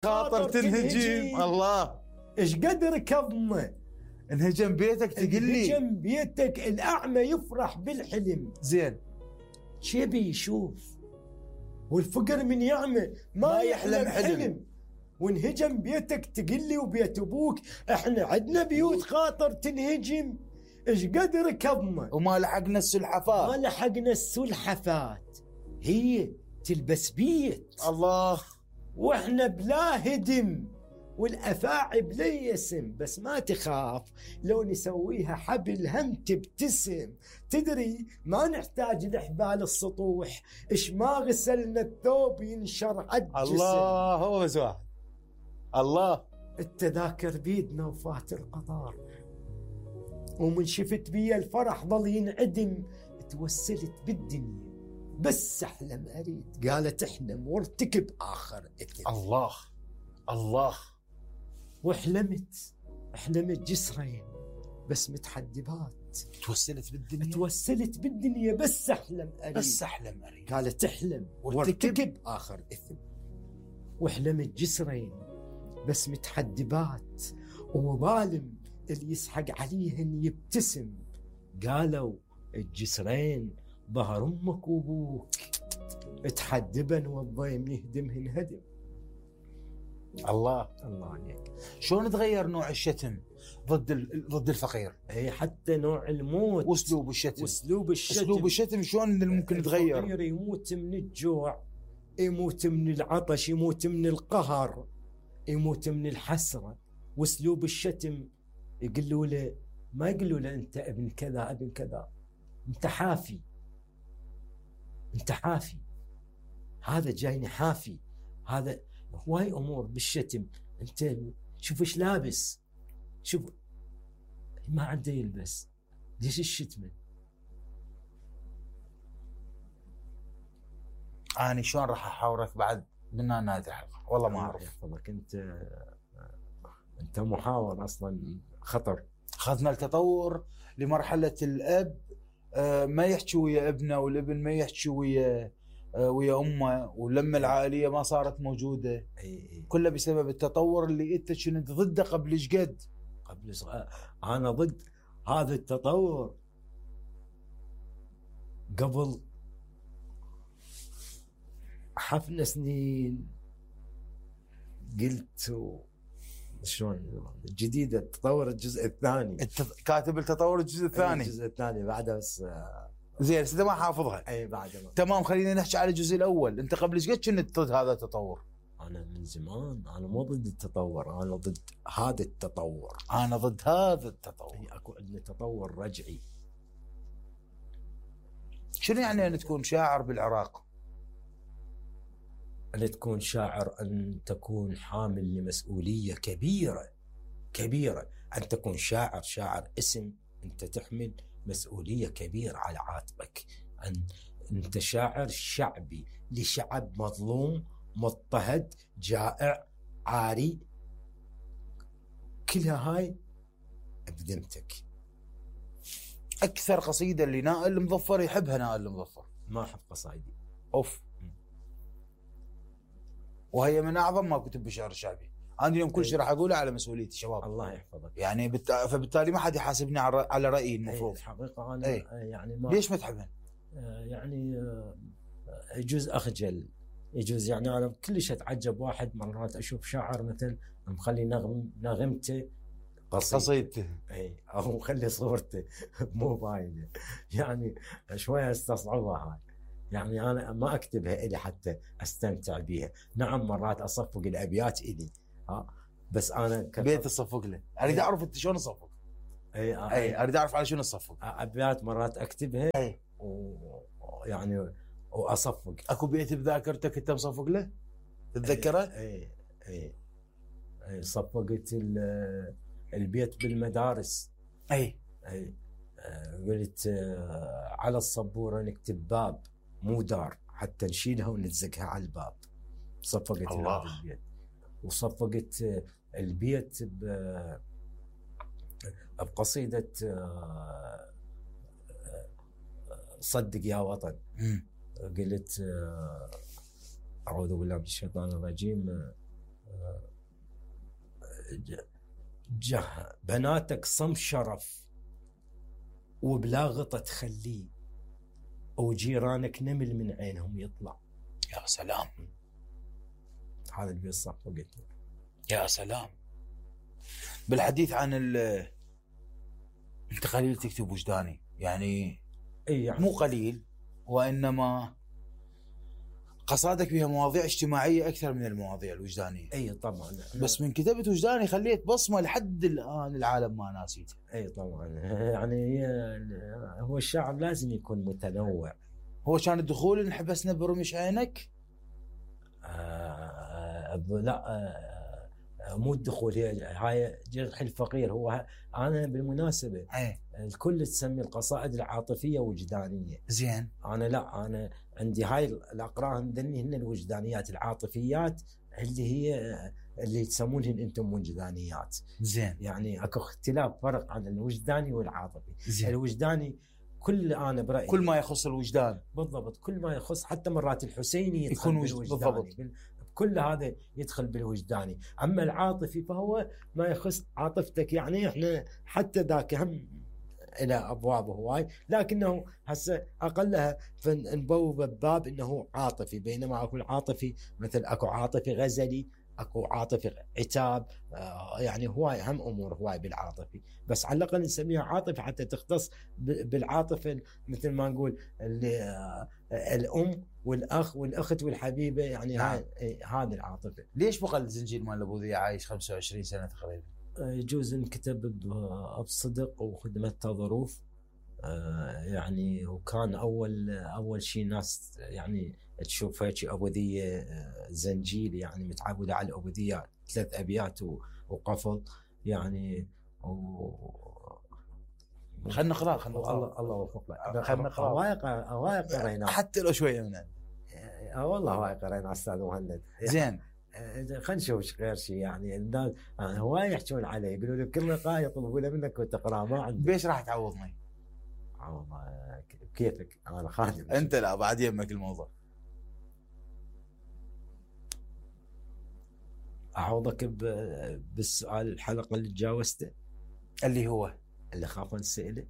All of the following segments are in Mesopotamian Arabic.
خاطر تنهجم. الله، ايش قد ركضنا انهجم بيتك تقول لي انهجم بيتك. الأعمى يفرح بالحلم، زين شبي يشوف، والفقر من يعمى ما يحلم حلم. وانهجم بيتك تقول لي وبيت ابوك احنا عندنا بيوت خاطر تنهجم. ايش قد ركضنا وما لحقنا السلحفات، ما لحقنا السلحفات. هي تلبس بيت الله، واحنا بلا هدم، والافاعي بلا يسم. بس ما تخاف لو نسويها حبل هم تبتسم. تدري ما نحتاج لحبال السطوح، ايش ما غسلنا الثوب ينشر عالجسم. الله، هو بس واحد. الله، التذاكر بيدنا وفات القطار، ومن شفت بي الفرح ظل ينعدم. توسلت بالدنيا بس احلم اريد، قالت احلم وارتكب اخر اثم. الله الله. واحلمت جسرين بس متحدبات. توسلت بالدنيا بس احلم اريد، قالت احلم وارتكب اخر اثم. واحلمت جسرين بس متحدبات، وظالم اللي يسحق عليهن يبتسم. قالوا الجسرين ظهر امك وابوك، تحدبن والضيم يهدمهن هدم. الله عليك. شلون تغير نوع الشتم ضد الفقير؟ اي حتى نوع الموت واسلوب الشتم شلون ممكن يتغير؟ الفقير يموت من الجوع، يموت من العطش، يموت من القهر، يموت من الحسرة. واسلوب الشتم يقولوا له، ما يقولوا له انت ابن كذا ابن كذا، انت حافي، هذا جايني حافي. هذا هواي امور بالشتم. انت شوف ايش لابس، شوف ما عنده يلبس، ليش الشتمه؟ أنا شلون راح أحاورك بعد من نهاية الحلقة؟ والله ما أعرف. يحفظك، أنت محاور أصلا خطر. أخذنا التطور لمرحلة الأب ما يحكي ويا ابنه، والابن ما يحكي ويا أمه، ولما العائلية ما صارت موجودة. كله بسبب التطور اللي أنت كنت ضده قبل إيش قد؟ أنا ضد هذا التطور قبل حفنا سنين. قلت شلون جديد التطور الجزء الثاني. كاتب التطور الجزء الثاني بعدها بس زين انت ما حافظها. اي بعدها تمام. خلينا نحكي على الجزء الاول. انت قبل ايش قد كنت ضد هذا التطور؟ انا من زمان انا مو ضد التطور، انا ضد هذا التطور. انا ضد هذا التطور. اكو عندنا تطور رجعي. شنو يعني ان تكون شاعر بالعراق؟ أن تكون شاعر أن تكون حامل لمسؤولية كبيرة. أن تكون شاعر اسم، أنت تحمل مسؤولية كبيرة على عاتقك. أنت شاعر شعبي لشعب مظلوم مضطهد جائع عاري، كلها هاي بذمتك. أكثر قصيدة اللي نائل المظفر يحبها نائل المظفر. ما أحب قصايدي. أوف. وهي من أعظم ما كتب بالشعر الشعبي. أنا اليوم كل شيء راح أقوله على مسؤوليتي شباب. الله يحفظك. يعني فبالتالي ما حد يحاسبني على رأيي المفروض. الحقيقة أنا يعني ما ليش ما تحبن؟ يعني يجوز أخجل، يجوز يعني أنا كلش أتعجب واحد مرات أشوف شاعر مثل مخلي نغمته قصيدته أو مخلي صورته مو باينة، يعني شوية استصعبها هاي. يعني أنا ما أكتبها إلي حتى أستمتع بها. نعم مرات أصفق الأبيات إلي بس أنا بيت تصفق له. أريد أعرف أنت شلون تصفق. أي أريد أعرف على شنو تصفق. أبيات مرات أكتبها ويعني وأصفق. أكو بيت بذاكرتك أنت مصفق له تتذكره؟ أي صفقت البيت بالمدارس. أي قلت على الصبورة نكتب باب مو دار حتى نشيلها ونلزقها على الباب. صفقت هذا البيت. وصفقت البيت بقصيدة صدق يا وطن. قلت أعوذ بالله من الشيطان الرجيم، بناتك صم شرف وبلا غطا تخليه، وجيرانك نمل من عينهم يطلع. يا سلام، هذا اللي بالصف وقلت. يا سلام. بالحديث عن انت قليل تكتب وجداني، يعني يعني مو قليل، وانما قصادك بها مواضيع اجتماعيه اكثر من المواضيع الوجدانيه. اي طبعا، بس من كتبت وجداني خليت بصمه لحد الان العالم ما ناسيتها. اي طبعا، يعني هو الشعر لازم يكون متنوع. هو كان الدخول انحبسنا برمش عينك؟ لا، مو الدخول، هاي جرح الفقير. هو انا بالمناسبه الكل تسمي القصائد العاطفيه وجدانيه. زين. انا عندي هاي الاقراء عندني هن الوجدانيات. العاطفيات اللي تسمونهن انتم وجدانيات. زين. يعني اكو اختلاف، فرق عن الوجداني والعاطفي. زين. الوجداني انا برايي كل ما يخص الوجدان. بالضبط، كل ما يخص، حتى مرات الحسيني يدخل بالوجداني. كل هذا يدخل بالوجداني. اما العاطفي فهو ما يخص عاطفتك. يعني احنا حتى ذاك هم الى ابواب هواي، لكنه هسه اقلها فنبوب بباب انه عاطفي. بينما اكو العاطفي مثل اكو عاطفي غزلي، اكو عاطفي عتاب، يعني هواي هم امور هواي بالعاطفي. بس على الاقل نسميها عاطفه حتى تختص بالعاطفه، مثل ما نقول الام والاخ والاخت والحبيبه. يعني هذه العاطفه. ليش بقى الزنجير مال ابو ذي عايش 25 سنه تقريبا؟ يجوز انكتب بصدق وخدمته ظروف. يعني وكان اول شيء ناس يعني تشوف هيك ابوذيه زنجيل، يعني متعوده على الابوذيه 3 ابيات وقفل يعني. خلنا نقرا. الله يوفقك. خلنا نقرا. هواي قرينا حتى لو شويه من والله هواي قرينا استاذ مهند. زين. خلينا نشوف غير شيء. يعني الناس هواي يحكون عليه، يقولوا له كل لقاء يطلبوا له منك وتقرا. ما عندي. ليش راح تعوضني؟ والله كيفك، انا خادم. انت لا، بعد يمك الموضوع. اعوضك بالسؤال الحلقه اللي تجاوزته، اللي هو اللي خاف نسأله.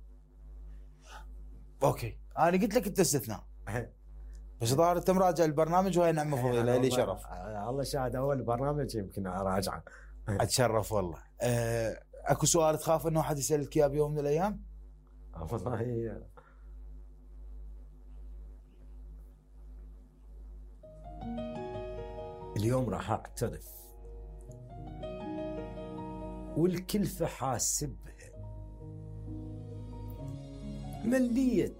اوكي، انا قلت لك انت استثناء. بس ظاهر انت مراجع البرنامج، وهي نعمه فضيله لي شرف. الله شاهد، اول برنامج يمكن اراجعه. اتشرف والله. اكو سؤال تخاف انه احد يسالك اياه بيوم من الايام؟ والله اليوم راح اعترف، والكلفة حاسبها. مليت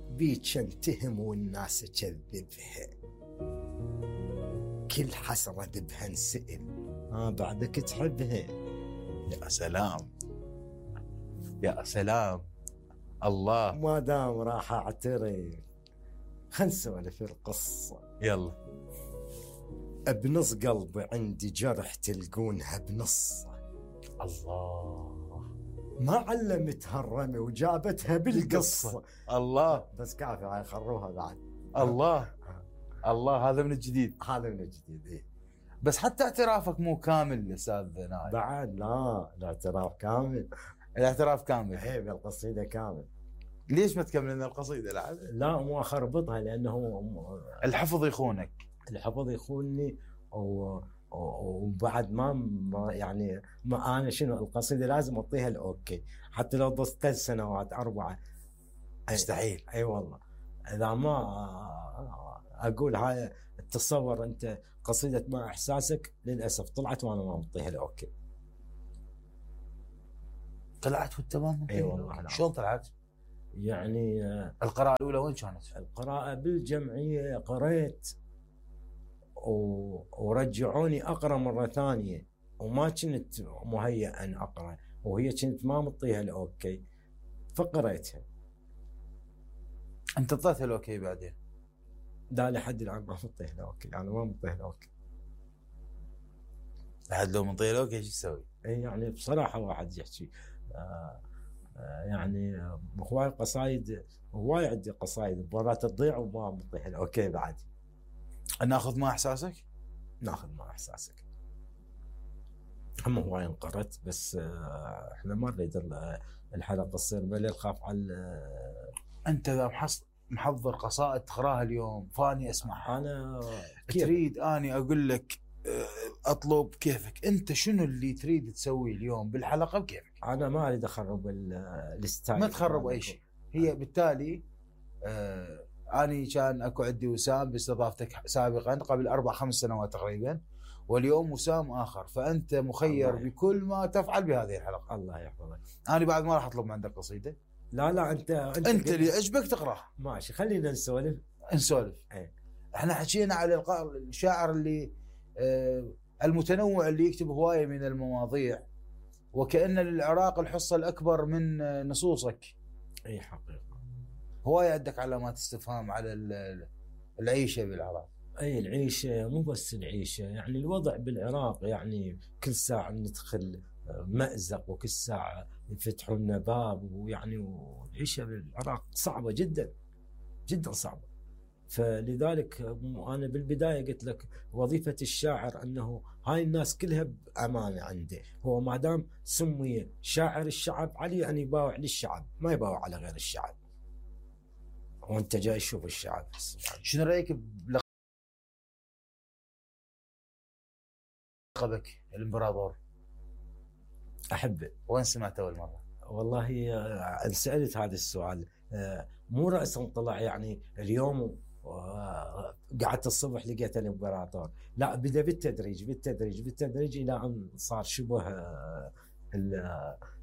بيك انتهم والناس اكذبها، كل حسرة ذبها انسئل، بعدك تحبها. يا سلام يا سلام. الله. ما دام راح اعترف، خل نسولف القصة. يلا. بنص قلبي عندي جرح تلقونها بنص. الله. ما علمتها الرمي وجابتها بالقصة. الله. بس كافي، هاي خروها بعد. الله. الله. هذا من الجديد. هذا من الجديد. إيه. بس حتى اعترافك مو كامل استاذ نايف. بعد لا، الاعتراف كامل. الاعتراف كامل. هي بالقصيدة كامل. ليش ما تكمل لنا القصيدة؟ لا، مو اخربطها لانه الحفظ يخونك. الحفظ يخونني. وبعد ما يعني ما انا شنو القصيده لازم اعطيها الاوكي، حتى لو ضلت 3 سنوات 4 مستحيل. اي والله. اذا ما اقول هاي، تصور انت قصيده مع احساسك للاسف طلعت وانا ما معطيها الاوكي. طلعت وانت ما؟ اي والله. شلون طلعت؟ يعني القراءه الاولى وين كانت؟ القراءه بالجمعيه قريت ورجعوني اقرا مره ثانيه، وما كنت مهيئ ان اقرا، وهي كنت ما مطيها الاوكي فقريتها. انت اعطيتها الاوكي بعدين؟ لا، لحد الان ما مطيها الاوكي. انا ما مطيها الاوكي. لحد لو مطيها الاوكي ايش تسوي؟ يعني بصراحه واحد يحكي يعني هواي قصايد، هواي عندي قصايد مرات تضيع وما مطيها الاوكي بعد. ناخذ مع احساسك؟ ناخذ مع احساسك. هم هواي انقرت، بس احنا ما نريد الحلقه تصير ملل، خاف على انت اذا محضر قصائد تقراها اليوم فاني اسمعها. انا تريد اني اقول لك اطلب كيفك انت شنو اللي تريد تسويه اليوم بالحلقه بكيفك. انا ما اريد اخرب الستايل، ما تخرب اي شيء. هي بالتالي اني كان اكو عندي وسام باستضافتك سابقا قبل 4-5 سنوات تقريبا، واليوم وسام اخر، فانت مخير بكل ما تفعل بهذه الحلقه. الله يحفظك. انا بعد ما راح اطلب من عندك قصيده. لا انت اللي عجبك تقراها. ماشي، خلينا نسولف. ايه. احنا حكينا على الشاعر اللي المتنوع اللي يكتب هوايه من المواضيع، وكأن للعراق الحصه الاكبر من نصوصك. اي حقيقه. هوايه عندك علامات استفهام على العيشه بالعراق. اي العيشه، مو بس العيشه، يعني الوضع بالعراق، يعني كل ساعه ندخل مأزق وكل ساعه يفتحوا لنا باب، ويعني والعيشه بالعراق صعبه جدا جدا صعبه. فلذلك انا بالبدايه قلت لك وظيفه الشاعر انه هاي الناس كلها بامانه عنده، هو ما دام سمي شاعر الشعب عليه ان يباوع للشعب، ما يباوع على غير الشعب. وانت جاي تشوف الشعب. شنو رايك بلقبك الامبراطور؟ احبه. وين سمعته اول مره؟ والله سالت هذا السؤال، مو راسا طلع يعني اليوم قعدت الصبح لقيت الامبراطور، لا بدا بالتدريج الى ان صار شبه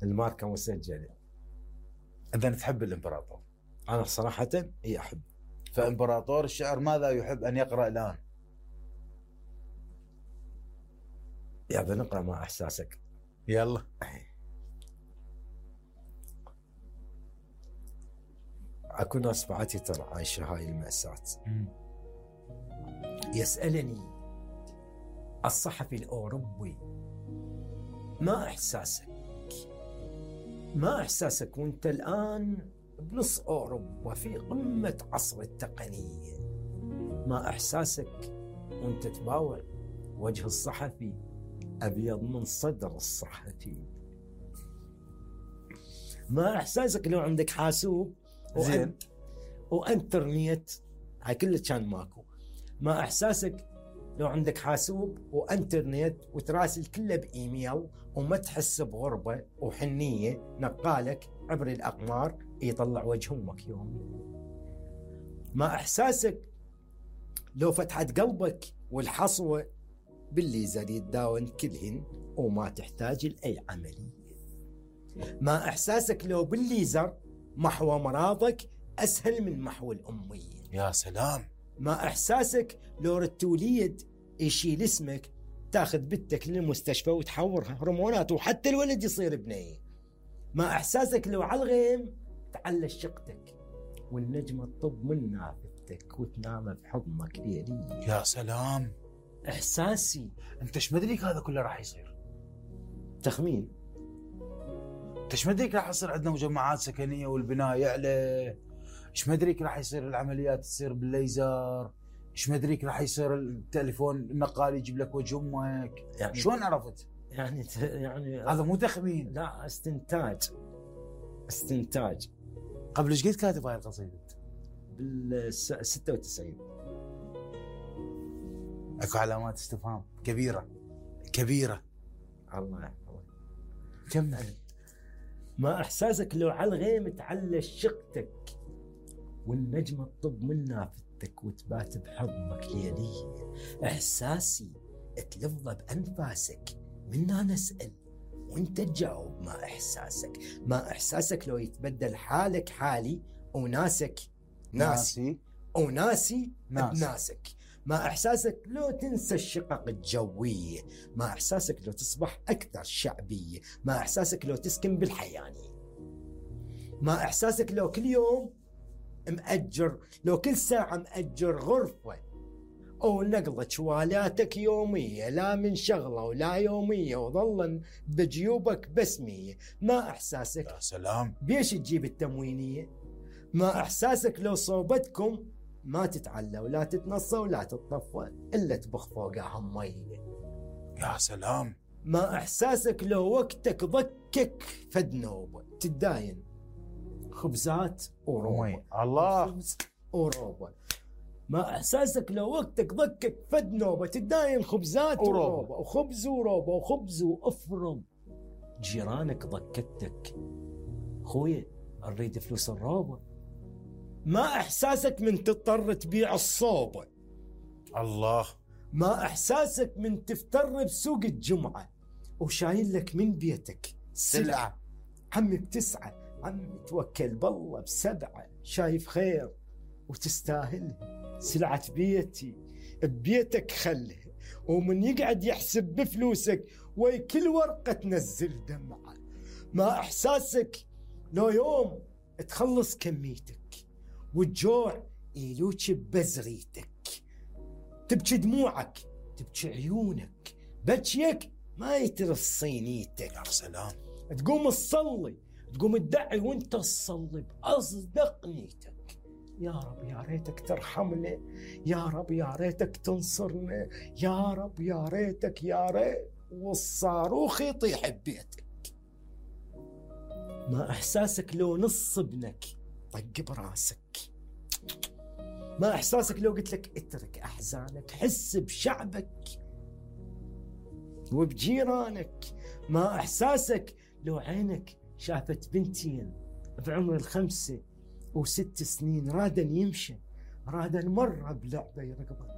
الماركه مسجله. اذا تحب الامبراطور؟ انا صراحه احب. فامبراطور الشعر ماذا يحب ان يقرا الان؟ يا بنقرا مع احساسك. يلا. اكو ناس بعتي ترى عايشه هاي المأساة. يسألني الصحفي الأوروبي ما إحساسك وانت الآن بنص أوروبا في قمة عصر التقنية، ما إحساسك وانت تباوع وجه الصحفي أبيض من صدر الصحفي، ما إحساسك لو عندك حاسوب زين وانترنت، هاي كله كان ماكو، ما احساسك لو عندك حاسوب وانترنت وتراسل كله بايميل وما تحس بغربه وحنيه، نقالك عبر الاقمار يطلع وجه امك يوميا. ما احساسك لو فتحت قلبك والحصوه بالليزر يتداون كلهن وما تحتاج لاي عمليه. ما احساسك لو بالليزر محو مرضك أسهل من محو الأمية. يا سلام. ما إحساسك لو رتوليد يشيل اسمك تاخذ بنتك للمستشفى وتحورها هرمونات وحتى الولد يصير بنية. ما إحساسك لو على الغيم تعلى شقتك والنجمة تطب من نافذتك وتنام بحضنك ليلية. يا سلام. إحساسي. أنت ايش مدريك هذا كله راح يصير؟ تخمين. ايش مدريك راح يصير عندنا مجمعات سكنيه والبناء يعلى؟ ايش مدريك راح يصير العمليات تصير بالليزر؟ ايش مدريك راح يصير التليفون النقال يجيب لك وجه امك؟ يعني شلون عرفت؟ يعني هذا مو تخمين، لا استنتاج. قبل ايش قد كاتب هاي القصيده؟ بال 96. اكو علامات استفهام كبيره. الله يحفظك. كمل. ما إحساسك لو على الغيم تعلى شقتك والنجمة تطب من نافذتك وتبات بحضنك ليلية. إحساسي تلفظ بأنفاسك منا نسأل وانت تجاوب. ما إحساسك. ما إحساسك لو يتبدل حالك حالي وناسك ناسي وناسي بناسك. ما إحساسك لو تنسى الشقق الجوية. ما إحساسك لو تصبح أكثر شعبية. ما إحساسك لو تسكن بالحيانية. ما إحساسك لو كل يوم مأجر، لو كل ساعة مأجر غرفة أو نقلة شوالاتك يومية، لا من شغلة ولا يومية وظلا بجيوبك بس 100. ما إحساسك. يا سلام. بيش تجيب التموينية. ما إحساسك لو صوبتكم ما تتعلى ولا تتنصى ولا تتطفى إلا تبخ فوقها مية. يا سلام. ما إحساسك لو وقتك ضكك فد نوبة تداين خبزات وروبة. الله. خبز وروبة. ما إحساسك لو وقتك ضكك فد نوبة تداين خبزات وروبة وخبز وروبة وخبز وأفرم. جيرانك ضكتك خويا نريد فلوس الروبة. ما إحساسك من تضطر تبيع الصوبة. الله. ما إحساسك من تفتر بسوق الجمعة وشايل لك من بيتك سلعة. عمي بتسعة، عمي توكل بالله بسبعة، شايف خير وتستاهلها. سلعة بيتي ببيتك خلها، ومن يقعد يحسب بفلوسك وي كل ورقة تنزل دمعة. ما إحساسك لو يوم تخلص كميتك والجوع يلوك ببزغيتك، تبكي دموعك تبكي عيونك، بكيك ما يترف صينيتك. يا سلام. تقوم تصلي، تقوم تدعي وانت تصلي بأصدق نيتك. يا رب يا ريتك ترحمنا، يا رب يا ريتك تنصرنا، يا رب يا ريتك يا ريت والصاروخ يطيح ببيتك. ما إحساسك لو نص ابنك طق براسك. ما إحساسك لو قلت لك اترك أحزانك، حس بشعبك وبجيرانك. ما إحساسك لو عينك شافت بنتين بعمر 5 و6 سنين رادن يمشي، رادن مرة بلعبة يرقبن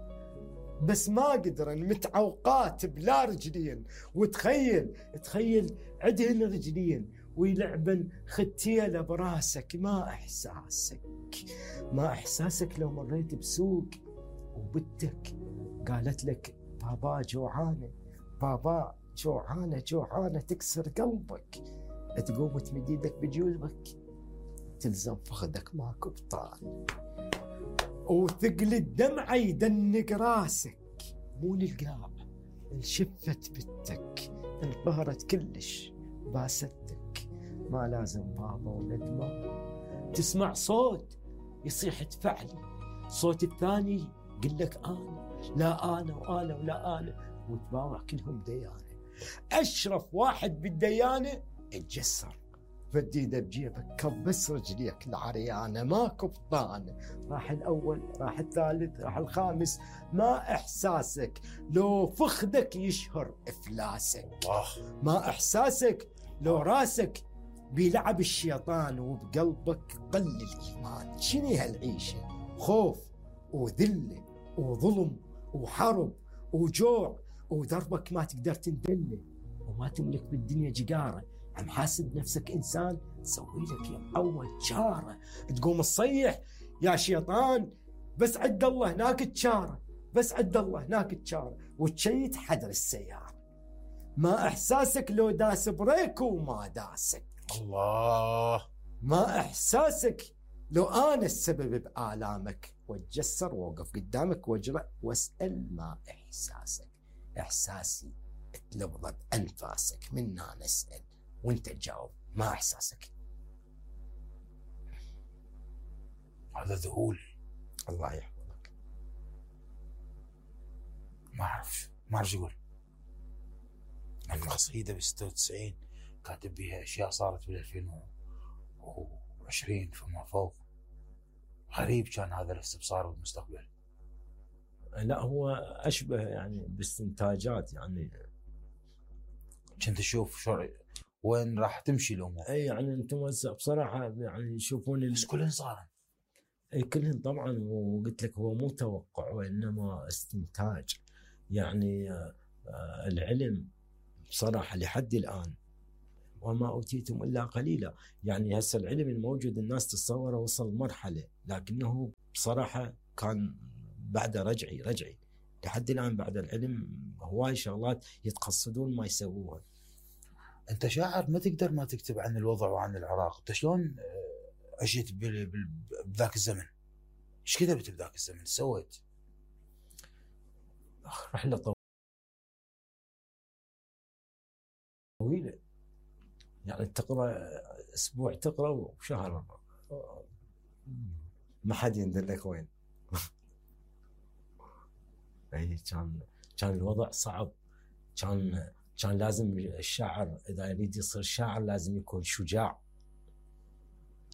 بس ما قدرن، متعوقات بلا رجلين، تخيل عدهن رجلين ويلعبن ختيلة براسك. ما إحساسك. ما إحساسك لو مريت بسوق وبنتك قالت لك بابا جوعانة، بابا جوعانة جوعانة، تكسر قلبك، تقوم تمد يدك بجيوبك تلزم فخذك ماكو بطال، وثقل الدمعة يدنق راسك. مو للقاع انشفت بنتك، انقهرت كلش باستك. ما لازم بابا وندمة، تسمع صوت يصيح ادفعلي، صوت الثاني يقول لك أنا، لا أنا وأنا ولا أنا، وتباوع كلهم ديانة. أشرف واحد بالديانة اتجسر، فد ايده بجيبك كبس رجليك العريانة، ماكو بطانة. راح الأول، راح الثالث، راح الخامس. ما إحساسك لو فخدك يشهر إفلاسك. ما إحساسك لو راسك بيلعب الشيطان وبقلبك قل الإيمان. شنو هالعيشة؟ خوف وذلة وظلم وحرب وجوع ودربك ما تقدر تندله، وما تملك بالدنيا جقارة. عم حاسب نفسك إنسان، سوي لك يا معود جارة. تقوم تصيح يا شيطان بس عد الله هناك تشارة، بس عد الله هناك تشارة، وتشيت حدر السيارة. ما إحساسك لو داس بريك وما داسك. الله. ما إحساسك لو أنا السبب بآلامك، واتجسر ووقف قدامك واجرأ واسأل. ما إحساسك. إحساسي تلفظ بأنفاسك، منا نسأل وانت تجاوب. ما إحساسك. هذا ذهول. الله يحفظك. ما أعرف يقول. القصيدة ب96 كاتب بها أشياء صارت بال 2020 فما فوق. غريب كان هذا الاستبصار بالمستقبل. لا هو أشبه يعني باستنتاجات، يعني كنت أشوف شو وين راح تمشي الأمور. أي يعني أنت موزع بصراحة، يعني يشوفون بس كلهن صارن. أي كلهن طبعا. وقلت لك هو مو توقع وإنما استنتاج. يعني العلم بصراحة لحد الآن وما أوتيتم إلا قليلا. يعني هسه العلم الموجود الناس تتصوره وصل مرحلة، لكنه بصراحة كان بعد رجعي لحد الآن. بعد العلم هواي شغلات يتقصدون ما يسووها. أنت شاعر ما تقدر ما تكتب عن الوضع وعن العراق. أنت شلون عشت بذاك الزمن؟ إيش كتبت بذاك الزمن؟ سويت رحلة طويلة، يعني تقرأ أسبوع تقرأ وشهر ما حد يندلك وين. كان الوضع صعب، كان كان لازم الشاعر اذا يريد يصير شاعر لازم يكون شجاع،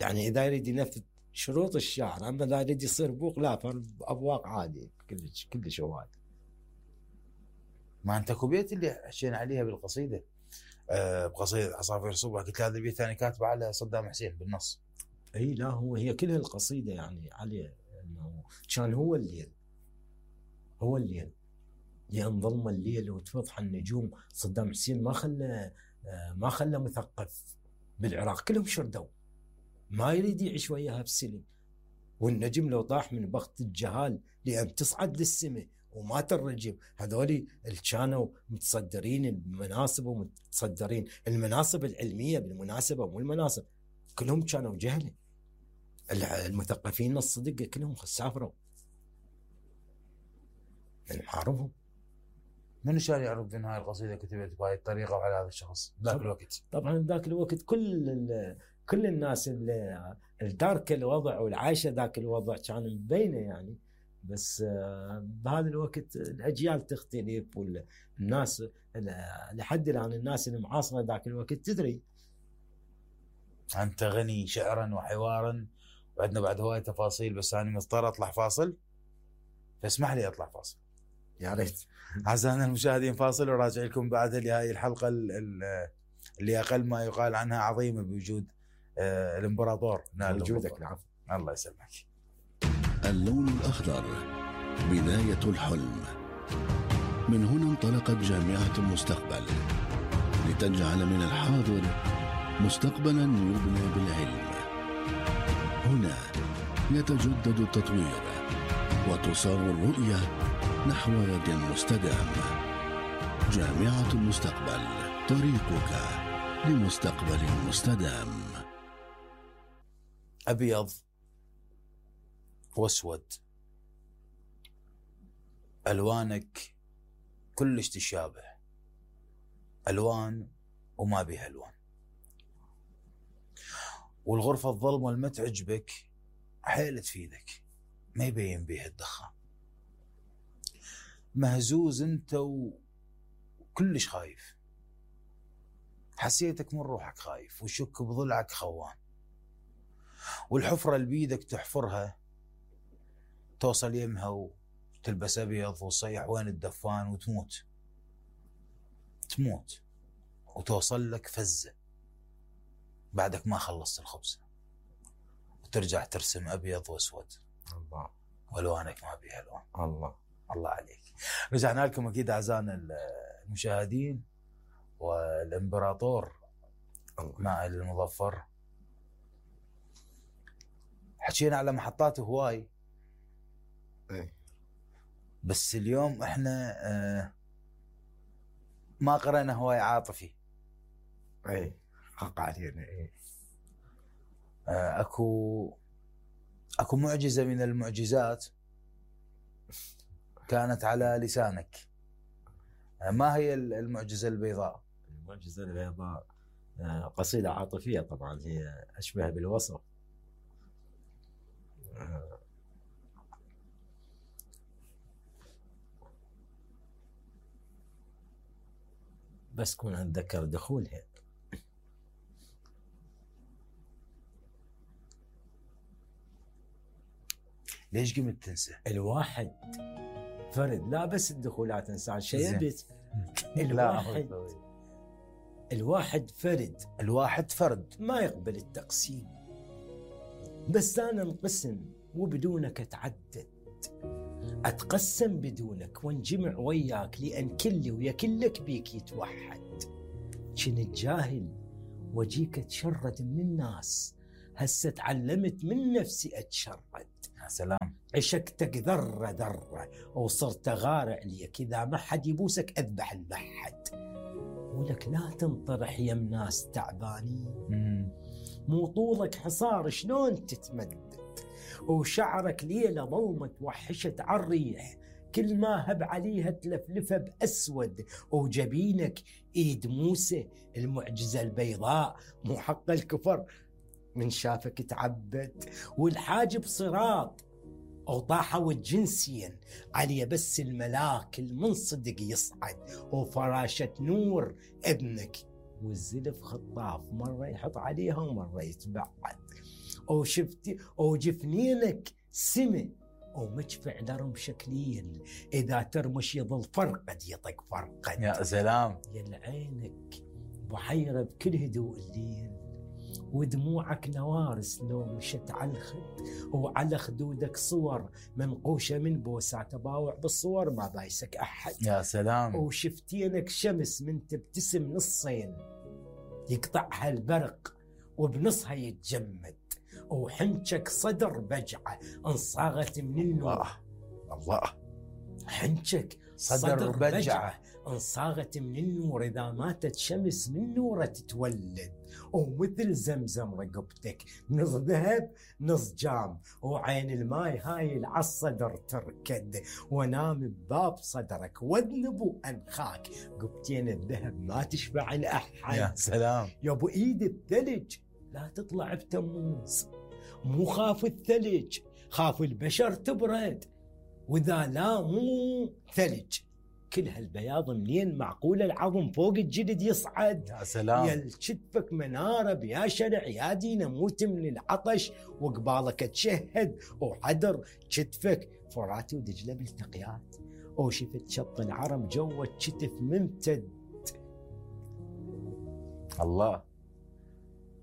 يعني اذا يريد ينفذ شروط الشاعر. اما اذا يريد يصير بوق لا، ابواق عادي كلش هواي. ما انت كوبيت اللي حكينا عليها بالقصيده، بقصيده عصافير الصبح، قلت هذا البيت ثاني كاتبه على صدام حسين بالنص. اي لا، هي كلها القصيده يعني عليه انه كان هو الليل، هو الليل لان ظلم الليل وتفضح النجوم. صدام حسين ما خلى مثقف بالعراق، كلهم شردوا، ما يريد يعيش وياها بسلم. والنجم لو طاح من بخت الجهال لأن تصعد للسماء ومات الرجم. هذول اللي كانوا متصدرين المناصب ومتصدرين المناصب العلمية بالمناسبة، مو المناصب، كلهم كانوا جهلة. المثقفين الصدق كلهم سافروا من معارفهم. منو كان يعرف ان هاي القصيده كتبت بهاي الطريقه وعلى هذا الشخص ذاك الوقت؟ طبعا ذاك الوقت كل الناس اللي تاركه الوضع والعايشه ذاك الوضع كان مبينه يعني. بس بهذا الوقت الاجيال تختلف، والناس لحد الان الناس المعاصره ذاك الوقت تدري. انت غني شعرا وحوارا، وعندنا بعد هواي تفاصيل، بس انا مضطر اطلع فاصل، فاسمح لي اطلع فاصل. يا ريت. اعزائنا المشاهدين، فاصل وراجع لكم بعد لهذه الحلقه اللي اقل ما يقال عنها عظيمه بوجود الامبراطور نال وجودك. العفو. الله يسلمك. اللون الأخضر بداية الحلم. من هنا انطلقت جامعة المستقبل لتجعل من الحاضر مستقبلا يبنى بالعلم. هنا يتجدد التطوير وتصار الرؤية نحو غد مستدام. جامعة المستقبل، طريقك لمستقبل مستدام. أبيض واسود، ألوانك كلش تشابه، ألوان وما بيها ألوان. والغرفة الظلمة اللي ما تعجبك حيل تفيدك، ما يبين بيها الدخان. مهزوز انت وكلش خايف، حسيتك من روحك خايف وشك بضلعك خوان. والحفرة اللي بيدك تحفرها توصل يمها وتلبس أبيض وتصيح وين الدفان وتموت، تموت وتوصل لك فزة بعدك ما خلصت الخبزة، وترجع ترسم أبيض وأسود. الله. والوانك ما بيها الوان. الله عليك. رجعنا لكم اكيد اعزائنا المشاهدين، والامبراطور نائل المظفر. حكينا على محطات هواي، بس اليوم احنا ما قرأنا هواي عاطفي. حق علينا. اكو معجزة من المعجزات كانت على لسانك. ما هي المعجزة البيضاء؟ المعجزة البيضاء قصيدة عاطفية طبعا، هي أشبه بالوصف. بس كون أتذكر دخولها. ليش قمت تنسى؟ الواحد فرد، لا بس الدخولات انسان شيبت. الواحد فرد، الواحد فرد ما يقبل التقسيم. بس انا انقسم وبدونك اتعدد، اتقسم بدونك وانجمع وياك، لان كلي ويا كلك بيك يتوحد. كنت جاهل وجيك اتشرد من الناس، هسه تعلمت من نفسي اتشرد. يا سلام. عشقتك ذرة ذرة وصرت غارع ليك، إذا ما حد يبوسك أذبح المحد. ولك لا تنطرح يم ناس تعبانين، مو طولك حصار شلون تتمدد، وشعرك ليلة ظلمة توحشت عالريح، كل ما هب عليها تلفلفه بأسود، وجبينك إيد موسى المعجزة البيضاء، مو حق الكفر من شافك تعبد. والحاجب صراط وطاحوا جنسيا علي بس الملاك المنصدق يصعد وفراشة نور ابنك والزلف خطاف مرة يحط عليها ومرة يتبعد وشفتي وجفنينك سمي ومدفع لرم شكلين إذا ترمش يظل فرقد يطق فرقد. يا سلام. يا عينك بحيرة بكل هدوء الليل ودموعك نوارس لو مشت على الخد وعلى خدودك صور منقوشة من بوسات تباوع بالصور ما بايسك أحد. يا سلام. وشفتينك شمس من تبتسم نصين يقطعها البرق وبنصها يتجمد وحنشك صدر بجعة انصاغت من النور. الله. حنشك صدر بجعة انصاغت من النور إذا ماتت شمس من نوره تتولد ومثل زمزم رقبتك نص ذهب نص جام وعين الماي هاي العالصدر تركد ونام بباب صدرك واذنب وأنخاك قبتين الذهب ما تشبع الأحد. يا سلام. يا ابو ايد الثلج لا تطلع بتموز مو خاف الثلج خاف البشر تبرد واذا لا مو ثلج كل هالبياض منين معقول العظم فوق الجلد يصعد. يا سلام. يا كتفك مناره بيا شرع يا دي نموت من العطش وقبالك تشهد وحدر كتفك فراتي ودجله بالتقيات وشفت شط العرب جوه كتف ممتد. الله.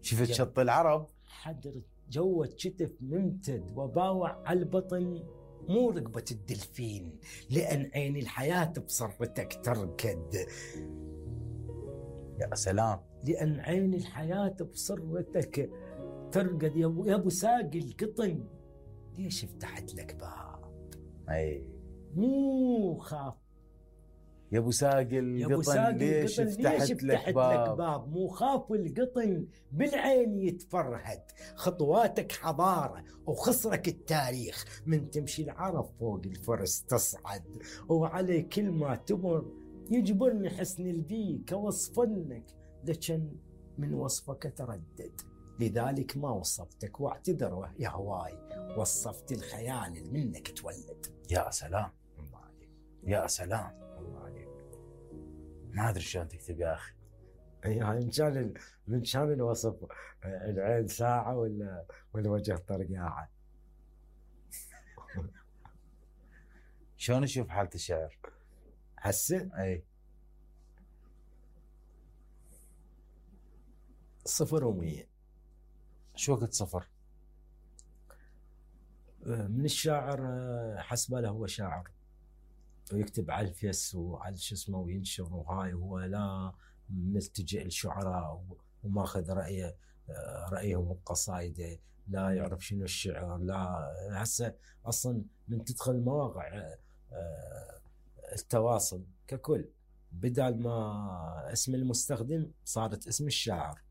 شفت شط العرب حدر جوه كتف ممتد وباوع على البطن مو رقبة الدلفين لأن عين الحياة بصرتك تركد. يا سلام. لأن عين الحياة بصرتك ترقد يا أبو ساقي القطن ليش فتحت لك باب؟ أي مو خاف يا ابو ساقي القطن ليش فتحت لك باب؟ مو خاف القطن بالعين يتفرهد خطواتك حضارة وخصرك التاريخ من تمشي العرب فوق الفرس تصعد وعلي كل ما تمر يجبرني حسن البيك وصفنك لكن من وصفك تردد لذلك ما وصفتك واعتذر يا هواي وصفت الخيال اللي منك تولد. يا سلام. يا سلام. ما ادري شلون تكتب يا اخي. يعني من كان الوصف العين ساعه ولا وجه طرقاعه. شلون اشوف حالة الشعر هسه؟ اي 0 و100. شو وقت 0؟ من الشاعر حسبه له هو شاعر ويكتب على الفيس وعلى شو اسمه وينشر وهاي هو لا ملتجئ للشعراء وماخذ رأيهم بقصايده لا يعرف شنو الشعر لا هسه اصلا من تدخل مواقع التواصل ككل بدل ما اسم المستخدم صارت اسم الشاعر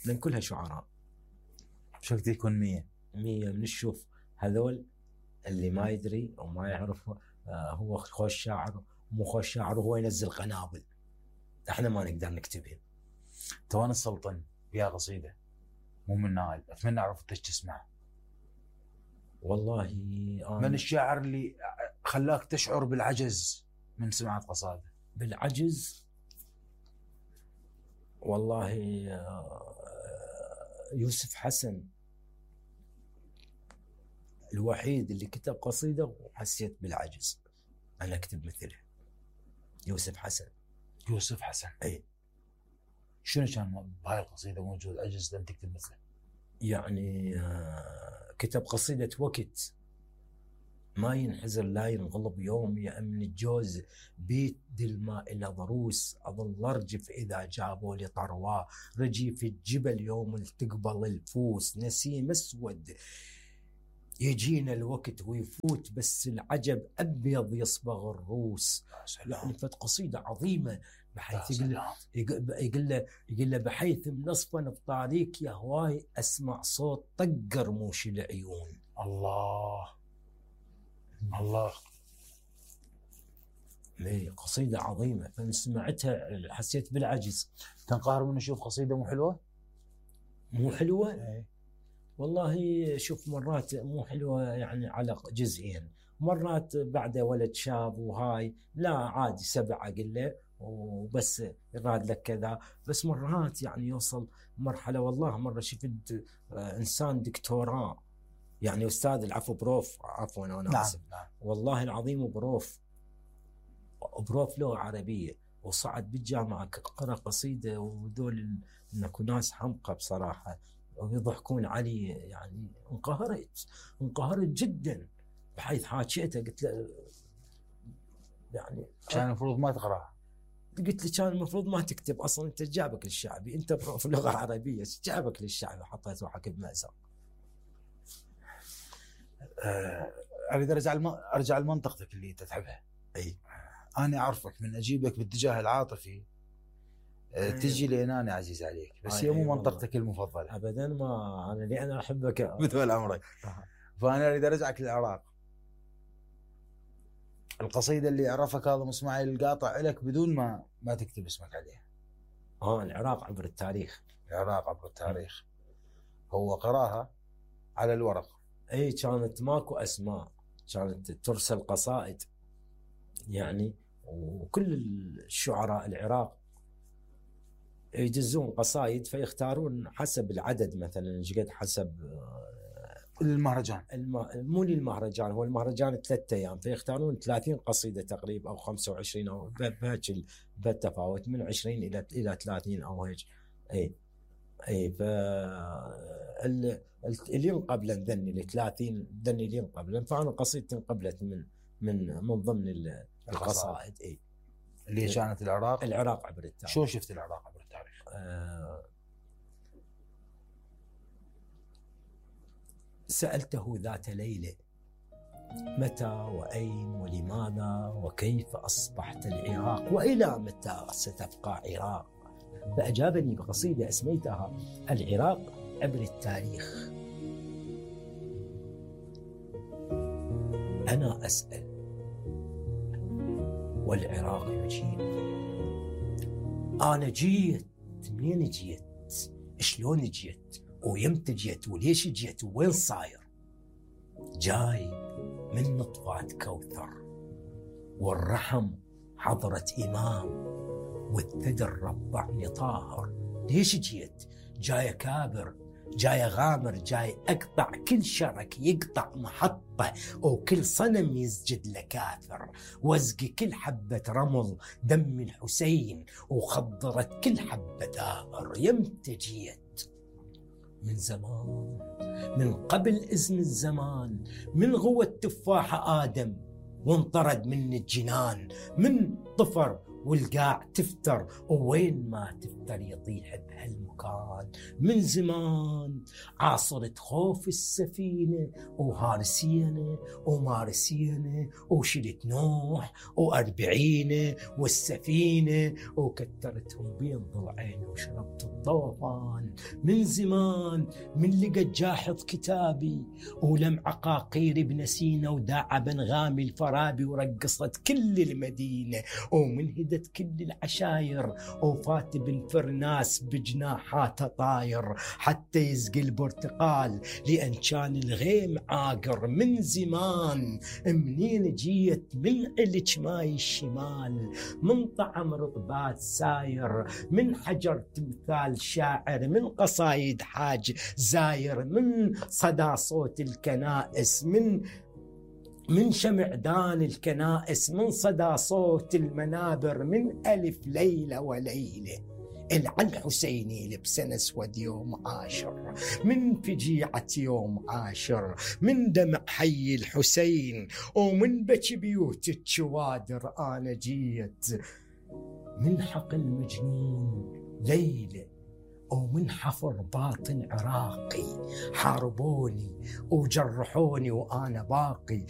لان كلها شعراء. شو وقت يكون 100 بنشوف هذول اللي ما يدري او ما يعرف هو خوش شاعر مو خوش شاعر وهو ينزل قنابل احنا ما نقدر نكتبها. توان السلطن يا قصيده مو من نايل اتمنى اعرف انت تسمع. والله من الشاعر اللي خلاك تشعر بالعجز من سماعة قصائده؟ بالعجز والله يوسف حسن الوحيد اللي كتب قصيدة وحسيت بالعجز أنا أكتب مثله. يوسف حسن. يوسف حسن. أي. شنو كان بهاي القصيدة موجود عجز لأن تكتب مثله؟ يعني كتب قصيدة وقت ما ينحزر لا ينغلب يوم يا أمن الجوز بيت الماء إلى ضروس أظل أرجف إذا جابوا لي طرواه رجي في الجبل يوم تقبل الفوس نسيم أسود يجينا الوقت ويفوت بس العجب أبيض يصبغ الروس. يعني فت قصيدة عظيمة بحيث يقول له بحيث منصفا بطاريك يا هواي أسمع صوت طق رموش العيون. الله الله. قصيدة عظيمة فمن سمعتها حسيت بالعجز. تنقهر من نشوف قصيدة مو حلوة؟ مو حلوة؟ والله شوف مرات مو حلوة يعني على جزئين، مرات بعد ولد شاب وهاي لا عادي 7 أقول له وبس يراد لك كذا، بس مرات يعني يوصل مرحلة. والله مرة شفت إنسان دكتوراه يعني أستاذ العفو بروف، عفوا أنا آسف، نعم. والله العظيم بروف لغة عربية، وصعد بالجامعة قرأ قصيدة، وذول إنكو ناس حمقى بصراحة ويضحكون علي. يعني انقهرت جدا، بحيث حاكيته قلت له يعني كان المفروض ما تقرأها. قلت له كان المفروض ما تكتب أصلا، أنت جابك للشعبي، أنت في لغة عربية جابك للشعبي، حطيت روحك بمأزق. أريد أرجع لمنطقتك اللي أنت تحبها. أي أنا أعرفك من أجيبك باتجاه العاطفي تجي لين أنا عزيز عليك، بس هي مو منطقتك المفضلة أبدا. ما أنا لأن أحبك مثل عمرك. فأنا أريد أرجعك للعراق. القصيدة اللي عرفها كاظم اسماعيل القاطع لك بدون ما تكتب اسمك عليها. العراق عبر التاريخ. العراق عبر التاريخ. هو قراها على الورق. أي كانت ماكو أسماء، كانت ترسل قصائد يعني، وكل الشعراء العراق يجزون قصائد فيختارون حسب العدد، مثلا ايش قد حسب المهرجان. مو للمهرجان، هو المهرجان 3 أيام، فيختارون 30 قصيدة تقريبا او 25 او بهيك بالتفاوت من 20 الى 30 او هيك. اي ف اللي قبل ذني ال 30 ذني اللي قبل، فانا قصيدتي قبلت من ضمن القصائد. اي اللي كانت العراق عبر التاريخ. شو شفت العراق عبر التاريخ؟ سألته ذات ليلة متى وأين ولماذا وكيف أصبحت العراق وإلى متى ستبقى عراق، فأجابني بقصيدة أسميتها العراق عبر التاريخ. أنا أسأل والعراق يجيب، أنا جيت، منين جيت؟ شلون جيت؟ ويمتى جيت؟ وليش جيت؟ وين صاير؟ جاي من نطفة كوثر، والرحم حضرة إمام، والثدى ربعني طاهر. ليش جيت؟ جاي كابر، جاي غامر، جاي أقطع كل شرك يقطع محطة، وكل صنم يسجد لكافر، وازقي كل حبة رمل دم الحسين، وخضرت كل حبة ثائر. يمتى جيت؟ من زمان، من قبل إذن الزمان، من غوى التفاحة آدم وانطرد من الجنان، من طفر والقاع تفتر، ووين ما تفتر يطيح بهالمكان. من زمان عاصرت خوف السفينة وهارسينة ومارسينة، وشلت نوح و40 والسفينة، وكترتهم بين ضلعين وشربت الطوفان. من زمان من لقى جاحظ كتابي ولم عقاقير بن سينا، وداع بن غامي الفارابي، ورقصت كل المدينة، ومن هدت كل العشاير، وفات بن فرناس بجناحاته طاير، حتى يسقي البرتقال لأن كان الغيم عاقر. من زمان منين جيت؟ من علج ماي الشمال، من طعم رطبات ساير، من حجر تمثال شاعر، من قصايد حاج زاير، من صدى صوت الكنائس، من شمعدان الكنائس، من صدى صوت المنابر، من ألف ليلة وليلة العن حسيني لبسن اسود يوم عاشر، من فجيعة يوم عاشر، من دمع حي الحسين، ومن بكي بيوت الشوادر. أنا جيت من حقل مجنون ليلة، ومن حفر باطن عراقي، حاربوني وجرحوني وأنا باقي.